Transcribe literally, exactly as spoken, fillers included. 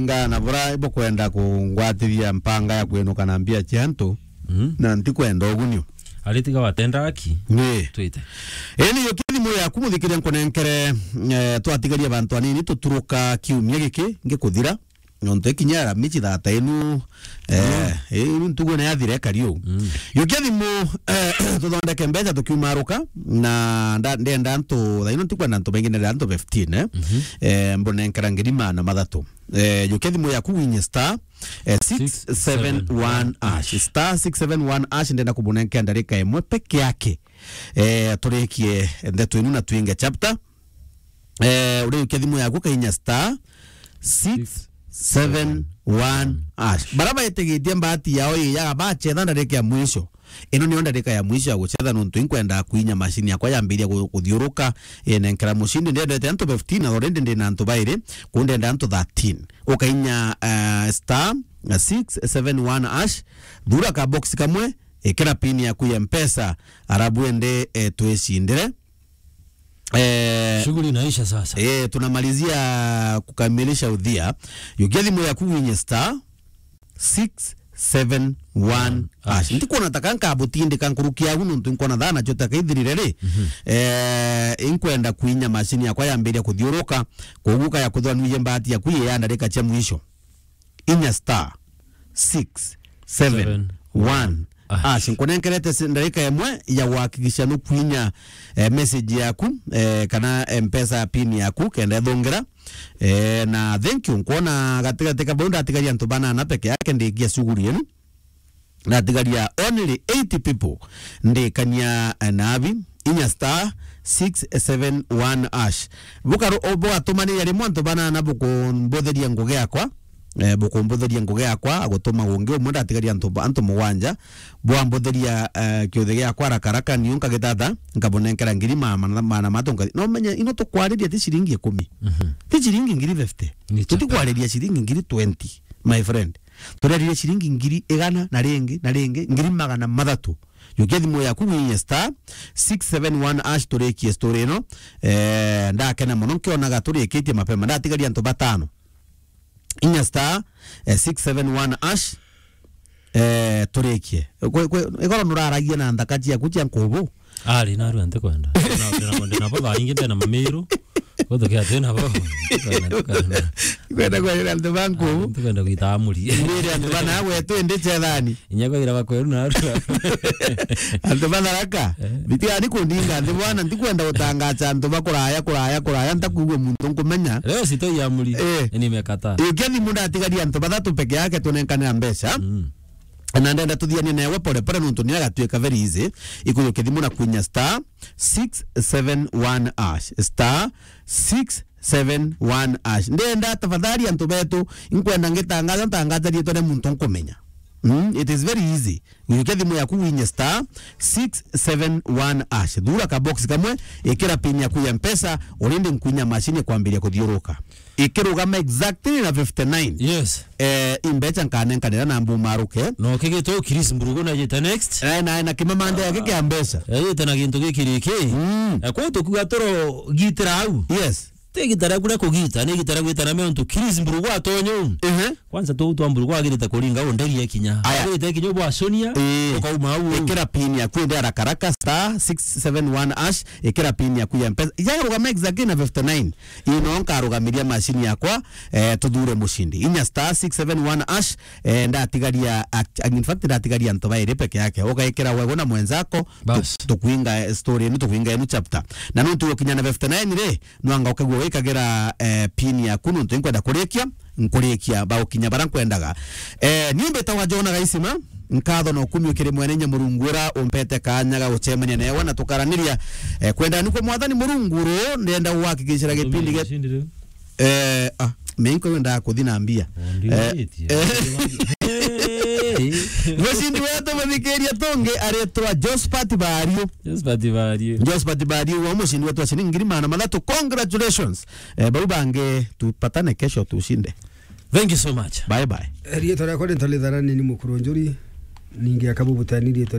Ringana na bura bukwenda kungwatiria mpanga ya kwinuka na mbia cia antu, Mm. na ntikwenda ugunio. Ari tiga watenda aki. Ni. Twite. Eni yo kithimo yaku muthikiria nkunenkere, eh, twatigaria bantu anini tuturuka kiumia giki ngikuthira. Nontu ikinya Aramisi thata inu, eh, inu ntugo ni yathira ikari uu. Mm. Yukia thimu, eh, tuthondeke mbeca tukiumaruka, na nda-, ndenda antu, thaino ntikwenda antu baingi, ndenda antu fifteen, eh. Mhm. Eh, mbunenkera ngiri maana mathatu. Eh, yukia thimu yaku winye star, eh, six seven one hash. Star six seven one hash, ndenda kubunenkera ndarika imwe peke yake. Eh, turikie ndeto inu na twinge chapter. Eh, uriukia thimu yaku kainya star six seven one hash. Bara baitigitie mbati yao iyaga bachetha ndarika ya mwisho. Ino niyo ndarika ya mwisho ya guchetha nontu inkwenda kuinya mashini yakwa yambiria gu-, kuthiuruka, inenkera mushindi. Ndendete antu fifteen, na already ndina antu bairi, kuu ndenda antu thirteen. Ukainya, eh, star six seven one hash, thura ka box kamwe, ikira pin yaku ya Mpesa, arabu ende, eh, twicindire. Eh, shughuli inaisha sasa. Eh, tunamalizia kukamilisha udhia. Yukia thimu yaku winye star six seven one hash. Hash. Ntikuona ta kanka butindika nkuruki yagu nontu nkuona thana chota kaithirire ri. Mhm. Eh, inkwenda kuinya mashini yakwa yambiria kuthiuruka. Koguo kaya kuthwa nuye mbati yaku ya ndarika cia mwisho. Inya star six seven one hash. Nkunenkerete si-, ndarika imwe ya guhakikisha nukwinya, eh, message yaku, eh, kana Mpesa pin yaku, kenda ithungira. Eh, na thank you, nkwona gatigati ka bau ndatigaria antu banana peke yake ndikia shughuli yenu. Ndatigaria only eighty people ndikania, eh, nabi. Inya star six seven one hash. Bukaru-, o-, bugatumaniria rimwe antu banana bukumbutheria ngugi yakwa. Eh, bukumbutheria ngugi yakwa, agutuma ungi umwe, ndatigaria antu ba-, antu mugwanja. Bwambutheria, eh, kiuthi giakwa haraka haraka, niu nkagitata, nkabunenkera ngiri ma-, ma-, maana matu nkathi. No menye, ino tukwariria ti ciringi ikumi. Mhm. Ti ciringi ngiri fifty. Ni chapa. Tutikwariria ciringi ngiri twenty, my friend. Turaririe ciringi ngiri igana na ringi, na ringi, ngiri magana mathatu. Yukia thimu yaku winye star six seven one hash turikie story ino. Eh, ndakena mono nkionaga turikitie mapema. Ndatigaria antu batano. Inya star, eh, six seven one hash, eh, turikie. Kwe, kwe, igoro nuraragia na nthaka ciaku cia nkubu. Ari, narua ntikwenda. Ndina, ndina, ndina bo thaa ingi ndina mamiru. Gutukia twina bo. Ntikwenda, ntikwenda. Kwenda kwarira antu ba nkubu. Ntikwenda gwita amuri. Ndire antu bana gwetu indi chethani. Inya kwagira bakweru narua. Antu ba Tharaka. Eh. Bitigani kundinga nthi bwana, ntikwenda gutangacha antu ba kuraya, kuraya, kuraya, ntakwigua muntu nkumenya. Leo sitoi amuri. Eh. Nimekataa. Yukia thimu ndatigaria antu bathatu peke yake tunenkanira mbeca. Mm. Na ndenda tuthianie newe pole pole nontu ni agatuika very easy. Ikuyukia thimu na kwinya star six seven one hash. Star six seven one hash. Ndenda tafadhali antu betu, inkwenda ngitangaza, ntangaza riitwa ria muntu nkumenya. Mm, it is very easy. Yukia thimu yaku winye star six seven one hash. Thura ka box kamwe, ikira pin yaku ya Mpesa, urindi nkwinya mashini kwambiria kuthiuruka. Ikirugama exactly na fifty nine. Yes. Eh, imbecha nkanenkanira na mbumaruke. No kigitwe Chris Mburugu na yita next. Eh, na, na kimamande yake kia mbeca. Eh, yita na gintu gikiriki. Mm. Eh, kwa tukuga turo gitira au. Yes. Ti gitara kuria kugita, ni gitara gwitana me ontu Chris Mburugu atonyo. Ehe. Kwanza tu twa Mburugu agirite kuringa u nderi ekinya. Aya. Agirite ekinya bwaconia, eh, ukauma au. Ikira pin yaku indi haraka haraka, star six seven one hash, ikira pin yaku ya Mpesa. Yarugama exactly na fifty nine. Ino nkarugamiria mashini yakwa, eh, tuthure mushindi. Inya star six seven one hash, eh, ndatigaria, act-, in fact, ndatigaria antu bairi peke yake. Ugaikira wewe na mwenzako, tu-, bas, tukwinga, eh, story inu, tukwinga inu chapter. Na nuntu gukinya na fifty nine ri, nwanga ukagua wikagira, eh, pin yaku, nuntu inkwenda kurikia, nkurikia, baukinya bara nkwendaga. Eh, ni mbitagwa Jona Gaisima, nkatho na ukumi ukiri mwene inya Murungu ura umpete kanya ga gucemania newe na tukaraniria. Eh, kwenda nikwo Mwathani Murungu ru, ndenda gwakikishira gipindi ge-, eh, ah, me inko wenda kuthi na mbia. Eh, eh. Mucindi wetu muthikiria tungi aritwa Josephat Bario. Josephat Bario. Josephat Bario, wa mucindi wetu wa ciringi ngiri magana mathatu. Congratulations. Eh, bau bangi tupatane kesho tushinde. Thank you so much. Bye bye. Riitwa riakwa ni Ntalitharani ni Mukuru Njuri, ningi akabu butani riitwa